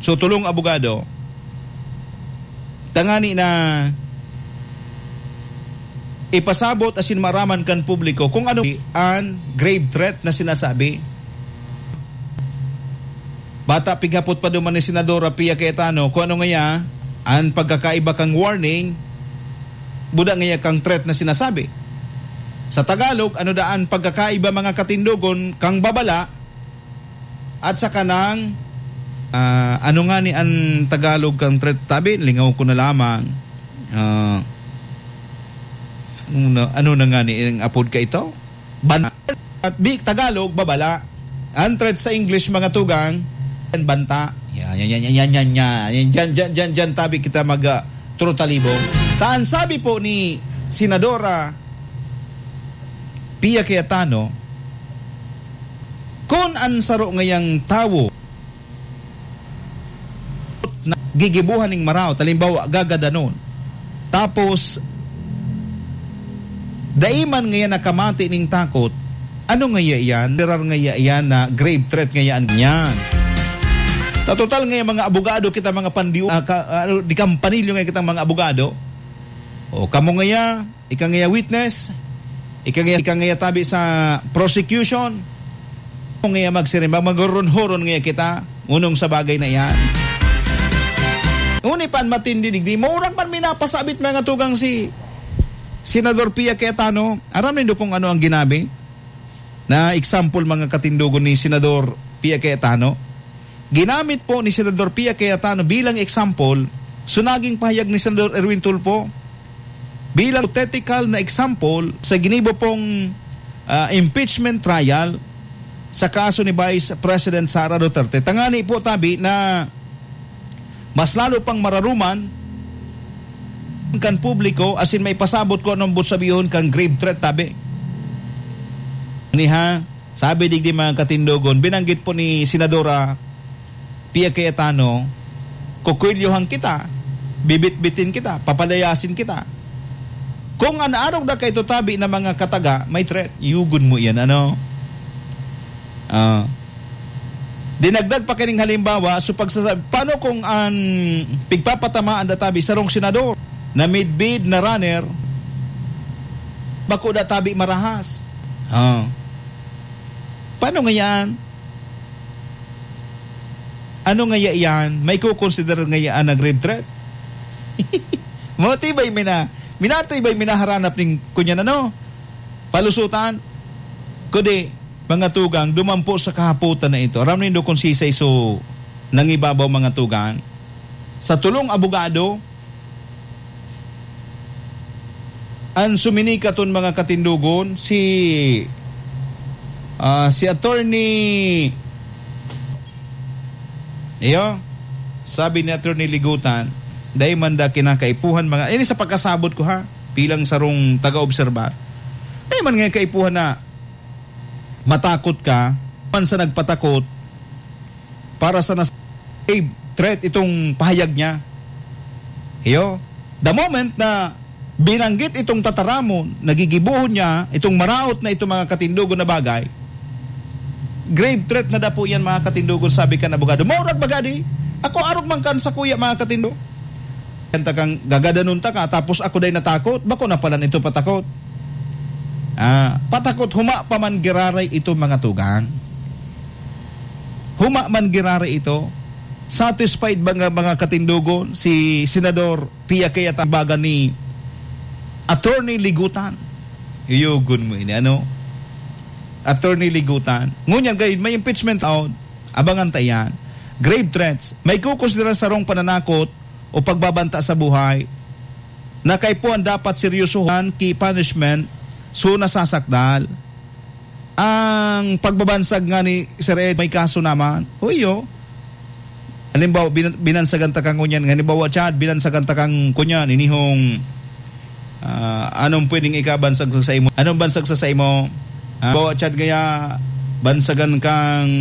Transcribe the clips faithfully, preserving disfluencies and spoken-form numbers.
So, tolong abogado, tangani na ipasabot asin maaraman kan publiko kung ano an grave threat na sinasabi. Bata, pighapot pa duman ni Senadora Pia Cayetano kung ano ngaya an pagkakaiba kan warning, buda ngaya kan threat na sinasabi. Sa Tagalog, ano daa an pagkakaiba, mga katindogon, kan babala at saka kan, ah, ano ngani an Tagalog kan threat, tabi? Lingaw ko na lamang. Ah, ano na, ano na ngani ang apod ka ito? Ban-, at di Tagalog, babala. Ang threat sa English, mga tugang, yan, banta. Yan, yan, yan, yan, yan, yan, yan. Yan, dyan, dyan, dyan, dyan, tabi kita mag, ah, trutalibong. Ta an sabi po ni Senadora Pia Cayetano, kun an saro ngayang tawo na gigibohan ning maraot, halimbawa, gagadanon. Tapos, dai man ngaya nakamati ning takot, ano ngaya iyan? Literal ngaya iyan na grave threat ngaya an-, iyan. Sa total ngaya, mga abogado kita, mga pandiu-, ah, ka-, ano, di kampanilyo ngaya kitang mga abogado. O, kamo ngaya, ika ngaya witness, ika ngaya, ika ngaya tabi sa prosecution, kamo ngaya magsiring, mag-, maghuron-huron ngaya kita, ngunong sa bagay na iyan. Ngunit pan matindi digdi, murag man minapasabit, mga tugang, si Senador Pia Cayetano. Aram nindo kung ano ang ginamit na example, mga katindogon, ni Senador Pia Cayetano? Ginamit po ni Senador Pia Cayetano bilang example, so naging pahayag ni Senador Erwin Tulfo bilang hypothetical na example sa ginibo pong, ah, impeachment trial sa kaso ni Vice President Sara Duterte. Tangani po, tabi, na mas lalo pang mararuman kan publiko, asin maipasabot kung anong sabihon kan grave threat, tabi. Ni ha, sabi digdi, mga katindogon, binanggit po ni Senadora Pia Cayetano, "Kukwelyohan kita, bibitbitin kita, papalayasin kita." Kung an arog na kaito, tabi, na mga kataga, may threat, yugon mo iyan, ano? Ah. Dinagdag pa kining halimbawa, so pagsasab-, paano kung an pigpapatamaan da, tabi, sarong senador na midbid na runner, bako da, tabi, marahas? Ah. Paano nga yan? Ano ngaya iyan? May kukonsiderar ngaya na grave threat? Matibay mi na, minatibay mi na haranap ning kunyan, ano? Palusutan. Kundi, mga tugang, dumampo sa kahapotan na ito. Aram nindo kung sisay so nangibabaw, mga tugang? Sa tolong abogado, an sumini katon, mga katindogon, si, ah, si Attorney, iyo, sabi ni Attorney Ligutan, dai man da kinakaipuhan, mga, ini sa pagkasabot ko, ha, bilang sarong taga-obserbar, dai man nga kaipuhan na matakot ka, man sa nagpatakot, para sa nas-, grave threat itong pahayag niya. Iyo, the moment na binanggit itong tataramon, nagigibohon niya itong maraot na itong mga katindogon na bagay, grave threat na dapo yan, mga katindogon, sabi kan abogado. Maurag bagadi, ako arog man kan sakuya, mga katindo. Kanta kang gagadanon ta ka, tapos ako day natakot, bako na pala nito patakot. Ah, patakot, huma pa man giraray ito, mga tugang. Huma man giraray ito. Satisfied ba nga, mga katindogon, si Senador Pia Cayetano baga ni Attorney Ligutan? Iyogon mo ini, ano? Attorney Ligutan. Ngunyan, gayon, may impeachment out. Abangan ta iyan. Grave threats. May kukonsidera sarong pananakot o pagbabanta sa buhay na kaipuhan dapat seryosohan ki punishment, so nasasakdal. Ang pagbabansag nga ni Sir Ed, may kaso naman. Uy, oh. Halimbawa, bin-, binansagan ta kang kunyan. Halimbawa, Chad, binansagan ta kang kunyan. Inihong, ah, anong pwedeng ikabansag sa, sa imo? Anong bansag sa, sa imo? Ah, halimbawa, Chad, gaya, bansagan kang,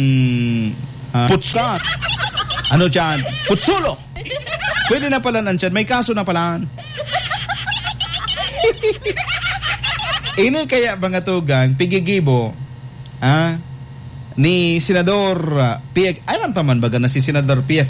ah, putsa. Ano, Chad? Putsulo! Pwede na pala nan Chad. May kaso na pala. Ini kaya, mga tugang, pigigibo, ah, ni Senador, ah, Pia-, alam ta man baga na si Senador Pia